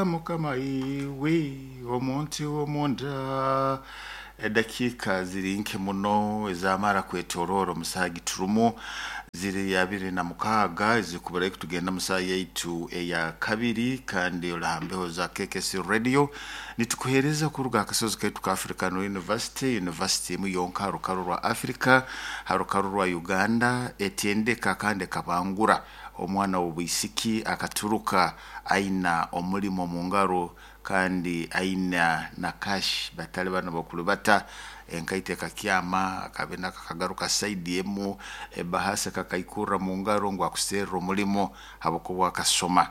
Mukama iwe omuntu w'omunda. Edakiika ziri nke muno ezamara kwetorora omusaha giturumu ziri 26 ezikubura tugenda musaha yaitu eya kabiri, kandi olahambeho za KKC Radio nitukuhereza kuruga akasozi kaitu ka African University, university emu yonka ha rukaru rwa Africa, ha rukaru rwa Uganda, etendeka kandi ekabangura omwana w'obwisiki akaturuka aina omulimo mu ngaro kandi aina na cash, batali bano bakulubata enkaito ekakyama akabina kakagaruka saidi emu ebahasa kakaikurra mu ngaro ngu akuserra omulimo habwokuba akasoma.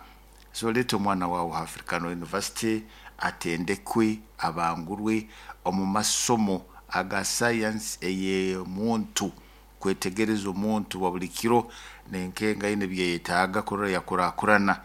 So leeta omwana wawe ha African University atendekwe, abangurwe omu masomo aga science ey'omuntu, kwetegereza omuntu wa buli kiro nenkenga aine ebyeyetaaga kurora yakurakurana,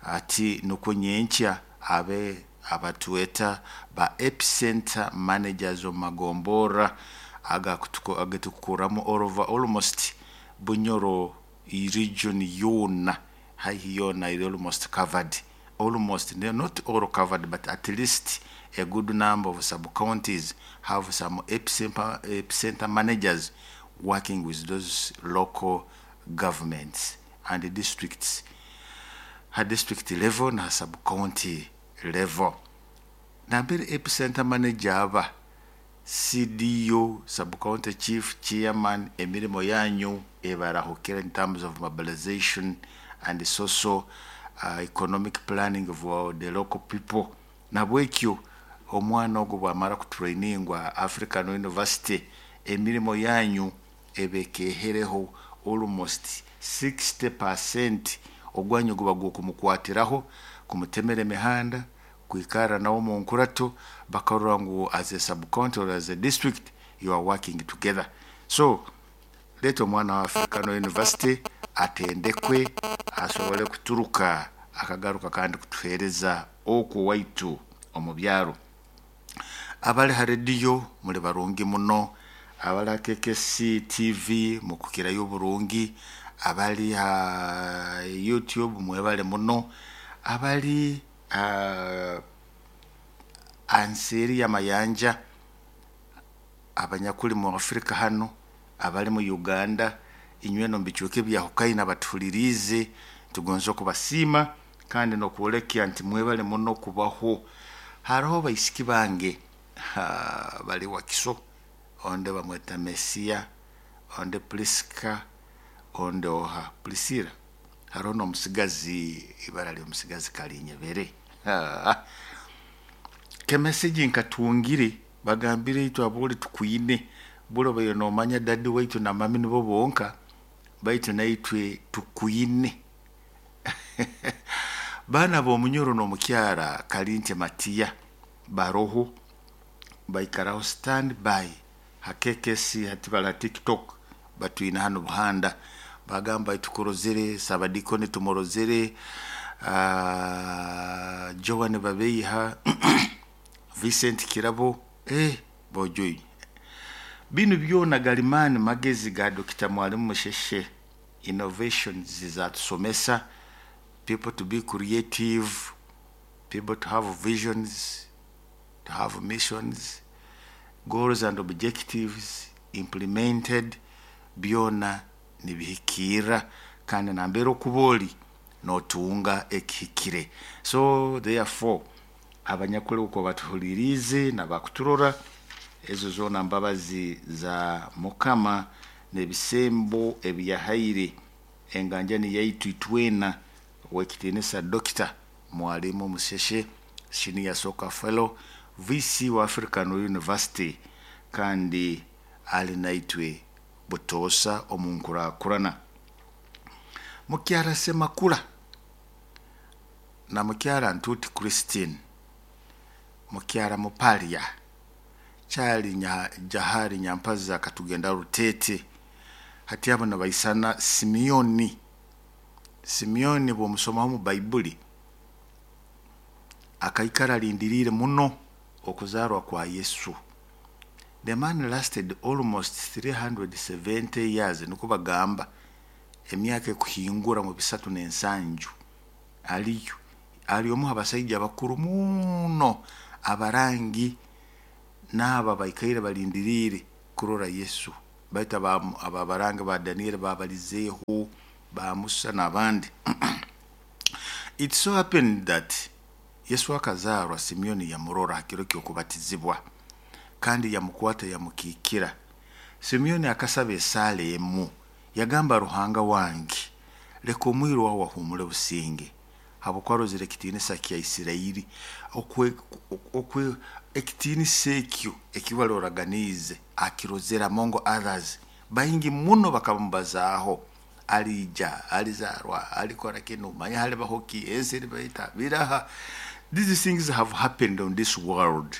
ati nukwo nyenkya abe abatweta ba epicenter managers omu magomborra agetukukuramu all over almost Bunyoro region yoona, haihi yoona eri almost covered, almost not all covered, but at least a good number of sub counties have some epicenter managers working with those local governments and districts, ha district level na sub county level. Nambere epicenter manager aba CDO, sub county chief, chairman, emirimo yanyu ebarahukira in terms of mobilization and social economic planning of the local people. Nabwekyo omwana ogwo bwamara kutrainingwa African University, emirimo yanyu ebekehereho almost 60%. Ogwanyu guba gwokumukwatiraho, kumutemera emihanda, kwikara nawe omu nkurato, bakarora ngu as a sub county or as a district you are working together. So leeta omwana wa African University atendekwe asobole kuturuka akagaruka kandi kutuhereza okwo waitu omu byaro. Abali ha rediyo muli barungi muno, abali ha KKC TV mukukirayo oburungi, abali ha YouTube mwebale muno, abali anseeri y'amayanja, abanyakuli mu Afrika hano, abali mu Uganda, inywena omu bicweka ebyahukaine abatuhuliriize, tugonza okubasiima kandi n'okwolekya nti mwebale muno kubaho. Haroho baisiki bange bali Wakiso, onde bamweta Mesia, onde Priska, onde oha Priscilla, haroho n'omusigazi, ibara ly'omusigazi Kalinyebere. Kemesegi nkatungire bagambire itwe aboli tukwine buli obaire nomanya dadi waitu na mami nibo bonka, baitu naitwe tukwine. Baana b'omunyoro n'omukyara Kalinte Matiya baroho, baikaraho stand by ha KKC, hati bali ha TikTok batwine hanu Buhanda, bagamba tukurozere Sabadikoni tumurozere, Joan Babeiha, Vincent Kirabo, bojoyi. Binu byona galimani magezi ga Dr. Mwalimu Musheshe, innovations zatusomesa people to be creative, people to have visions, to have missions, goals and objectives implemented, byona nibihikirra kandi nambere okuba oli notunga ekihikire. So therefore abanyakuli uko batuhuliriize nabakuturora, ezo zoona mbabazi za Mukama n'ebisembo ebiyahaire enganjani yaitu itwena ow'ekitiinisa Dr. Mwalimu Musheshe, Senior Soccer Fellow, VC wa African University, kandi ali naitwe butoosa omu nkurakurana. Mukyara Semakula na mukyara Ntuti Christine, mukyara Mupalia, Charlie Jahari Nyampaza katugenda Rutete, hati abo nabaisana Simeoni. Simeoni bw'omusomaho mu Baibuli akaikara alindiriire muno okuzarwa kwa Yesu. The man lasted almost 370 years, nukwo bagamba, emyaka ekuhingura mu 370 aliyo. Ali omu abasaija abakuru muno abarangi n'abo abaikaire balindiriire kurora Yesu, baitu abo abarangi ba Danieri babalizeeho, ba Musa n'abandi. It so happened that Yesu akazaarwa, Simeoni yamurora ha kiro ky'okubatizibwa, kandi yamukwata yamukiikira. Simeoni akasaba esaala emu, yagamba, "Ruhanga wange, leka omwiru wawe ahuumule businge, habwokuba arozire ekitiinisa kya Isirairi, okwe ekitiinisa ekyo eki wali oraganiize akirozere." Among others, baingi muno bakamubazaaho, aliija, alizaarwa, alikora kinu, manya halibaho ki, ensi eribaita biraha. These things have happened on this world.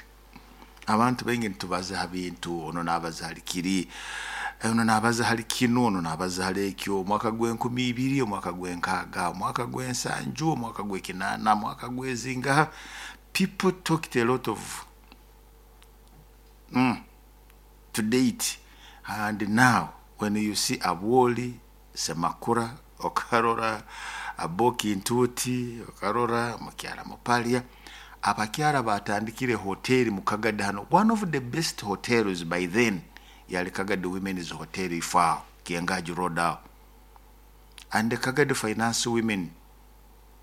Abantu baingi nitubaza ha bintu, ono nabaza hali kiri, ono nabaza hali kinu, ono nabaza hali ekyo, omwaka gw'enkumu 2, omwaka gw'enkaaga, omwaka gw'ensanju, omwaka gw'ekinaana, omwaka gw'ezingaha. People talked a lot of to date, and now when you see Abwoli Semakura, okarora Aboki Ntuuti, okarora Mukyara Mupalia, abakyara batandikire hoteri mu Kagadi hano. One of the best hotels by then yali Kagadi Women's Hotel, ifaaho Kiangaji Road aho, and the Kagadi Finance Women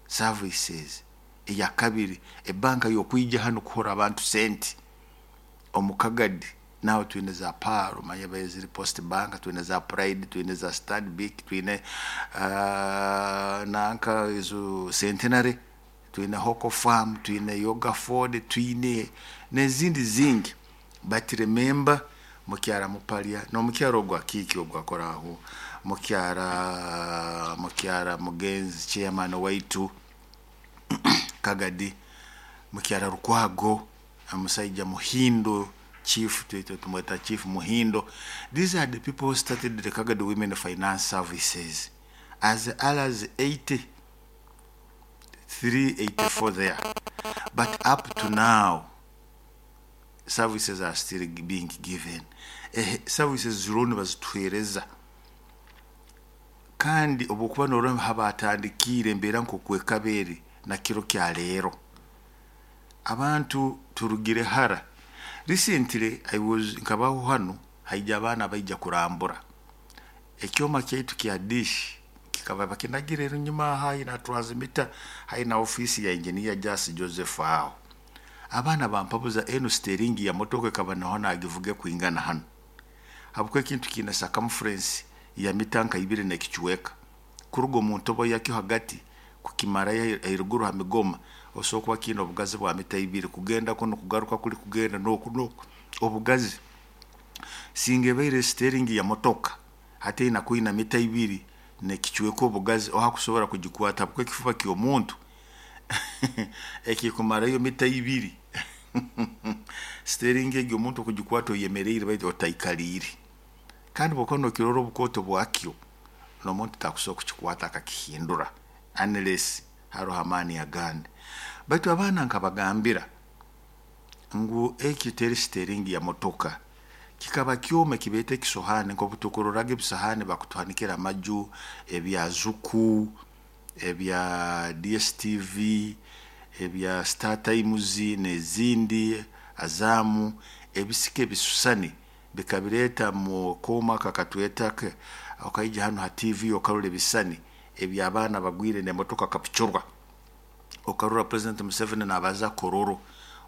Services eyakabiri, ebanka yokwija hano kuhora abantu sente omu Kagadi. Nawe twine za Paro, manya ziri Post Bank, twine za Pride, twine za Stanbic, twine nanka ezo Centenary, twine Hoko Farm, twine Yoga Ford, twine n'ezindi zingi. But remember Mukyara Mupalia n'omukyara ogwo akiiki ogwo akoraho, mukyara mugenzi chairman waitu Kagadi, Mukyara Rukwago, omusaija Muhindo, chief twete tumweta Chief Muhindo. These are the people who started the Kagadi Women Finance Services as early as 83, 84 there, but up to now services are still being given. Services ziriho nibazituheereza, kandi obwokuba norora habatandikiire embeera nk'okwekaba na kiro kya leero, abantu turugire hara. Recently I was nkabaho hano, haija abaana baija kurambura ekyoma kyaitu kya dish, kikaba bakinagire enyuma haina transmitter, haina ofisi ya Engineer Jas Joseph aho. Abaana bampabuza, eno steering ya motoka ekaba naho nagivuge kwingana hano, habwokuba ekintu kiine circumference ya mita nka 2 n'ekicweka. Kuruga omu ntobo yakyo hagati kukimarayo eruguru ha migoma, osobola kuba kiine obugazi bwa mita 2, kugenda kuno, kugaruka kuli, kugenda noku noku obugazi. Singa ebaire steering ya motoka, hati ina kwina mita 2 n'ekicweka obugazi, ohakusobora kugikwata, habwokuba ekifuba ky'omuntu ekikumarayo mita 2, steering egyo omuntu okugikwata oyemereire baitu otaikaliire. Kandi bwokuba nokirora obukooto bwakyo, n'omuntu takusobola kukikwata akakihindura unless haroho amaani agandi. Baitu abaana nkabagambira ngu eki teri steering ya motoka, kikaba kyoma ekibeeta ekisohaani, nk'obu tukuroraga ebisohaani bakutuhanikira amaju, ebya Zuku, ebya DSTV, ebya Star Times n'ezindi, Azamu, ebisika ebisusani bikabireeta mu kooma aka katweta okaija hanu ha TV okarora ebisani eby'abaana bagwire n'emotoka kapucurwa, okarora President Museveni nabaza Kororo,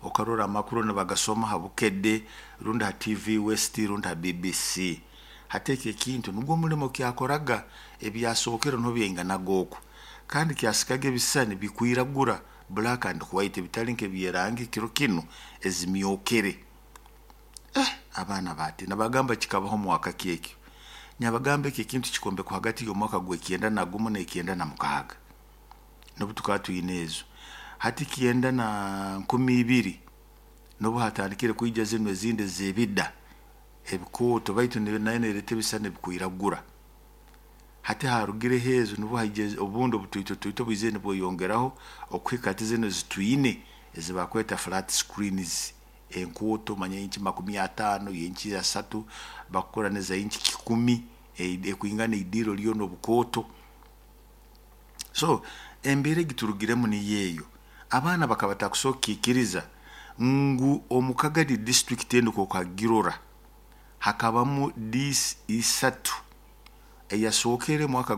okarora amakuru nibagasoma ha Bukedde rundi ha TV West rundi ha BBC. Hati eki ekintu nugwo omulimo kyakoraga ebyasookere niho byainganaga oku, kandi kyasikaga ebisani bikwiragura, black and white, bitali nk'ebyerangi kiro kinu ezimyokere. Abaana batina, bagamba kikabaho mwaka ki ekyo? Nyabagamba eki ekintu kikombekwa hagati y'omwaka gw'e91 n'e96, n'obu tukaba twine ezo. Hati kyenda na 2000 n'obu hatandikire kwija zinu ezindi ez'ebida ebikooto, baitu nayo nereeta ebisani ebikwiragura. Hati harugireho ezo, nubwo haija obundi obutwito twito bwizire nibweyongeraho okuhika hati zinu ezitwine ezibakweta flat screens, enkooto manya inchi 50, inchi 30, bakukora neza inchi 100, ekwingana idiiro lyona obukooto. So embeera egiturugiremu niyo eyo. Abaana bakaba batakusobora kukiikiriza ngu omu Kagadi district enu kokagirora hakabamu DC isatu. Eyasookere mwaka